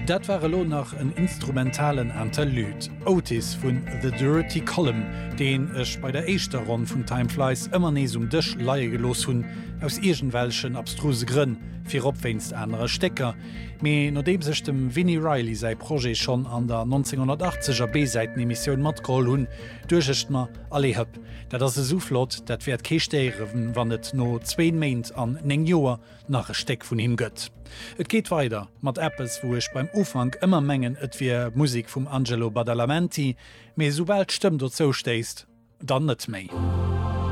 Dat war elo nach en instrumentalen Interlude, Otis vun The Durutti Column, deen ech bei der éischter Ronn vun Time Flies ëmmer nees um Dësch leie gelooss hunn, aus iergendwelchen abstruse Grënn, virop wéinst anere Stécker. Mee nodeems ech dem Vini Reilly säi Projet schonn an der 1980 er B-Säiten-Emissioun matgeholl hunn, duecht ech mer, Allez hëpp, dat ass esou flott, dat wäert kee stéieren, wann et no zwéin Méint an 9 Joer nach e Stéck vun him gëtt. Et geet weider mat eppes, wou ech beim Ufank ëmmer mengen, et wier Musek vum Angelo Badalamenti, mee esoubal d'Stëmm dozou stéisst, dann net méi.